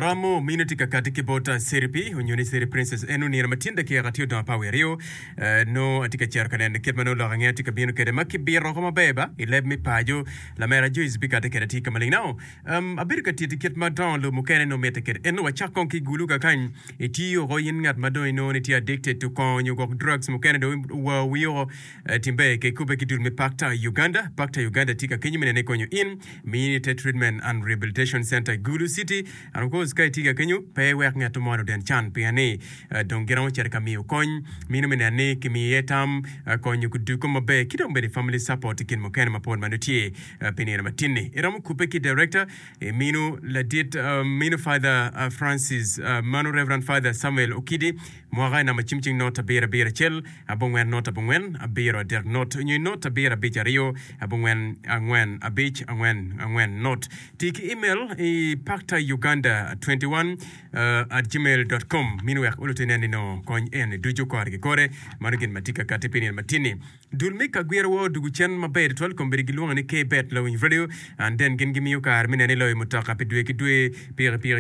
Aromo mino tye ka kati ki bot Seripi onyo ni Seri Princess en onino ma tyen dakika tye odong apar wiye aryo nongo atye ka cito ka neno kit ma nongo lok angeya tye ka bino kwede ma kibito oko maber ba i leb me paco lamera Joyce bikati kwede tye ka maleng now um, abedo ka titi kit ma dongo lobo mukene nongo mitte kwede ento wacak kong ki gulu kakany itiyo oko in ngat ma dong inongo ni tye addicted to kongo nyo gwok drugs mukene dong owa wii oko Tim ber ka ikubbe ki dul me Pakta Uganda. Pakta Uganda tye ka kenyo me nene konyo in. Mini te Treatment and Rehabilitation Center i Gulu City. And of course ka itye ka kenyo pe iwek ngat mo oden can pien ni dong giromo cito ka miyo kony. Mino me neno ni kimiyo iye tam, konyo kuduko maber ki dong bene family support ki gin mukene mapol ma nongo tye pi nino matin-ni. Iromo kubbe ki Director mino ladit mino Father Francis mano Reverend Father Samuel Okidi. Mwaka i namba cim cing not abiro abiro acel abongwen not abongwen abiro adek not onyo i not abiro abic aryo abongwen angwen abic angwen angwen not. Ti ki email i pactauganda 21 at gmail dot com mini wek oluti inen ni nongo kony eni ducu kore ki kore. Mano gin ma tye ka kati pi nino matin-ni. Dul me kagwiro wa odugu cen maber tutwal kombeddi gilwongo ni K-Bet Lawiny Radio and then gin gimiyo kare me neno iloyo mutoka pi dwe ki dwe, pikipiki.